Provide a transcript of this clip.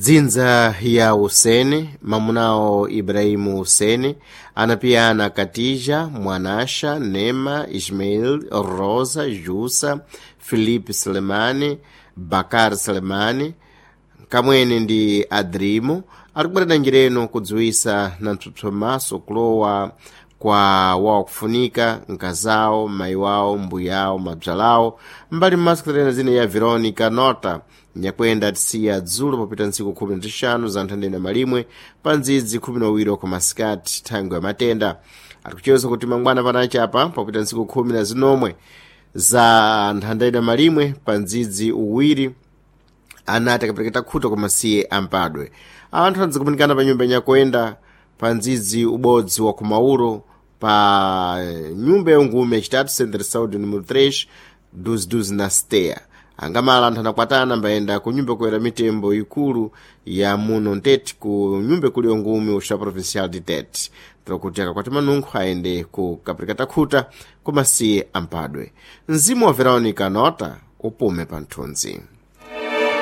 Dzinza ya Husene, mamunawo Ibrahimu Husene, anapiyana Katija, Mwanasha, Nema, Ismail, Rosa, Jusa, Filipe Selemani, Bakar Selemani, kamwene ndi Adrimo, alikubwerera njireno kudziwisa na mpsopsomaso kulowa kwa wakufunika nkazawo, mayi wawo, mbuyawo, mabzalawo, mbali mmasikitana zina ya Veronica Nota, nyakwenda tisiya dzulo popita ntsiku 15 za nthandena malimwe pa ndzidzi 12 kumasikati thangwe ya matenda. Atikucheweza kuti mangwana panachapa popita ntsiku 19 za nthandena malimwe pa ndzidzi uwiri anati akapereketa khuta koma siye ampadwe. Anthu adzikumanikana pa nyumba nyakwenda pa ndzidzi ubodzi wa kumauro pa nyumba yongume yachitatu Centro Saúde número 3 12 na Steya. Angamala anthu anakwatana mbayenda ku nyumba kuyera mitembo ikulu ya muno Ntete ku nyumba ikulu yongume uxa provincial de Tete kuti akakwati manunkho ayende ku kapereketa khuta koma siye ampadwe. Mzimu wa Veronica Nota upume pa nthunzi.